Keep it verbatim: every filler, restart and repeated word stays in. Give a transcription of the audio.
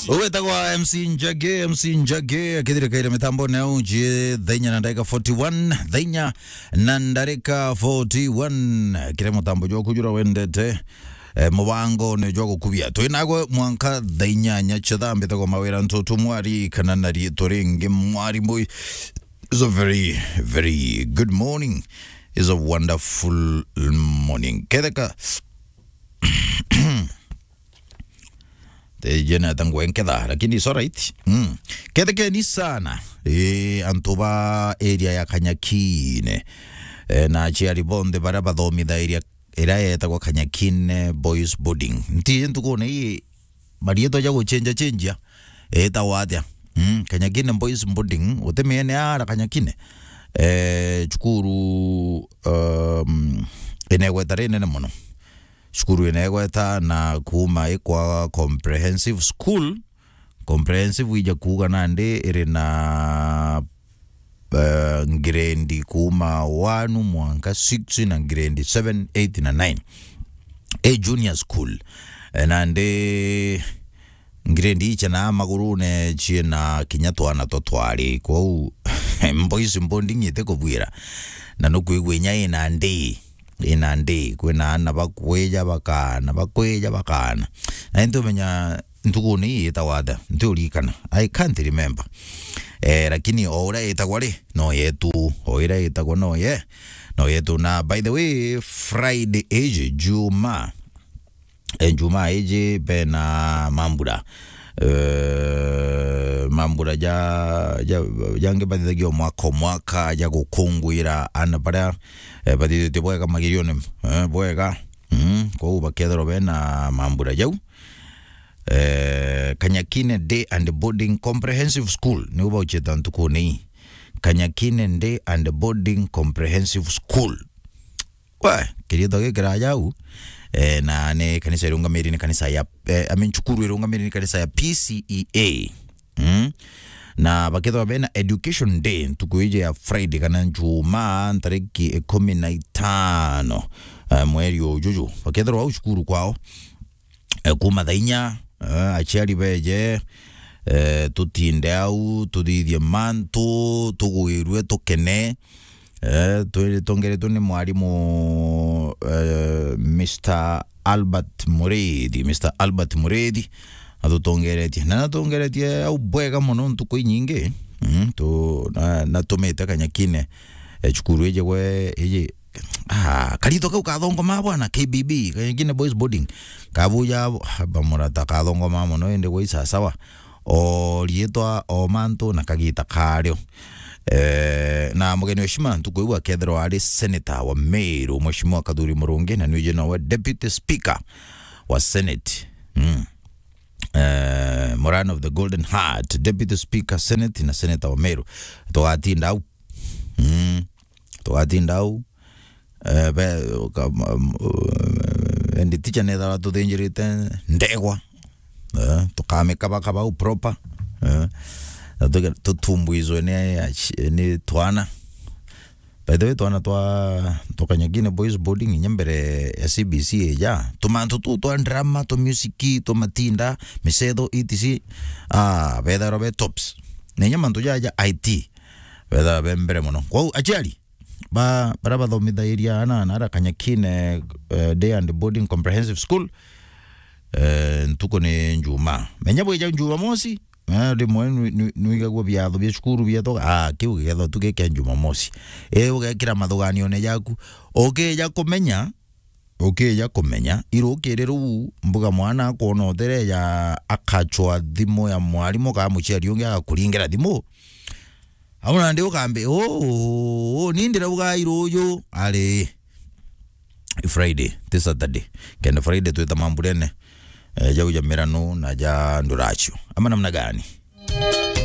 Ugwetagwa M C Njagi, M C Njagi, akithirikaire mitambone au nji thainya na ndarika forty-one, thainya na ndarika forty-one. Kire mutambo jwa kujura wendete, eh, mubango ni jwa gukubia. Twinagwe mwanka thainyanya cia thaa mbitagwa Mawira Ntutu Mwari, kana na riitwa ringi Mwari Boy. It's a very, very good morning. It's a wonderful morning. Ketheka Tejena tangwe nketha, lakini it's alright. Mm. Kethekeni sana. Eh, antu ba area ya Kanyakine. Eh, na aciari bonthe baria bathomithagia area yetagwa Kanyakine Boys Boarding. Nti ntukune ii marietwa ja guchenja chenjia. Etagwa atia? Mm, Kanyakine Boys Boarding. Utimiene ara Kanyakine. Eh, cukuru, um, inegweta rinene mono. Cukuru inegweta na kuuma ikwa comprehensive school. Comprehensive ija kuuga nandi iri na, eh, grade kuuma one mwanka six na grade seven, eight na nine. A junior school. Eh, nandi grade icha na magurune ciina kinya twana twa twari. Kwou boys boarding ite kubwira. Na nukwigua inya ina ndi, ina ndi, kwina ana bakwija bakana, bakwija bakana. Na ntumenya ntukuni ii itagwa atia? Ntiurikana. I can't remember. Eh, lakini o uria itagwa ri, no yetu. O iria itagwa no ye, no yetu. Na by the way, Friday iji, Juma, eh, Juma iji bena mambura. Eh, mambura ja, ja, jangi bathithagia mwaka o mwaka ja gukungwira ana baria, eh, bathithitie bwega magirione, eh, bwega. Mm, kwou bakethirwa bena mambura jau. Eh, Kanyakine Day and Boarding Comprehensive School, niu baucheta ntukuni ii. Kanyakine Day and Boarding Comprehensive School. We, kirietwa gikiraya au, eh, na ni kanisa irungamiri ni kanisa ya, eh, I mean, cukuru irungamiri ni kanisa ya P C E A. Mm? Na bakethwa bena Education Day ntuku iji ya Friday kana Njumaa, ntariki ikumi na itano, eh, mweri ujuju. Bakethirwa au cukuru kwao, eh, kuuma thaa inya, eh, aciari beje, eh, tutinde au, tuthithie mantu, tugwirue, tukene. Eh, twi-, twongeretwe ni mwarimu, eh, Mister Albert Murithi, Mister Albert Murithi, atutongeretie. Na natongeretie au bwega mono ntuku inyingi. Mm, tu-, na, natumite Kanyakine, eh, cukuru iji gwe, iji, ah, karito kau kathongoma bwana, K B B, Kanyakine Boys Boarding. Kabuja, ah, bamurata kathongoma mono, indi gwe isasawa. O riitwa, o mantu na kagita kario. Eh, na mugeni wa heshima ntuku iu akethirwa ari senator wa Meru, Mheshimiwa Kathuri Murungi, na nwiji nowe deputy speaker wa Senate. Mm. Eh, Moran of the Golden Heart, deputy speaker Senate na senator wa Meru. Tugatinda au. Mm. Tugatinda au. Eh, be, ka-, ma-, m-, eh, endi ticha nethara tuthinjirite ndegwa. Eh, tukamikabakaba au proper. Eh, na tuge-, tutumbuizwe ni, ni twana. By the way, twana twa, twa Kanyakine Boys Boarding inya mbere ya C B C ija. Tumantu tu twa drama, twa music, twa matinda, micetho, et cetera. Ah, betharwa be tops. Na inya mantu jaja I T. Betharwa be mbere mono. Kwou, aciari, ba, bara bathomithairia ana, ana ara Kanyakine, eh, Day and Boarding Comprehensive School, eh, ntuku ni Njumaa. Menya bwija Jumamosi, eh, rimwe nwi-, nwi-, nwigagua biatho bia cukuru bietwa, ah, kiu gikethwa tu gi kia Jumamosi. Eh, ugekira mathuganione jaku. Ukija kumenya, ukija kumenya, irukiri ruu, mbuga mwana akwona utereja, akachwa thimu ya mwarimu, kana muciari ungi agakuringira thimu. Au nandi ukambe, "Uu, uu, uu, ni ndirauga iruju." Ari, i Friday, ti Saturday. Kenda Friday twita mamburene, eh, jau ja mirano na ja nduracio. Ama namna gani?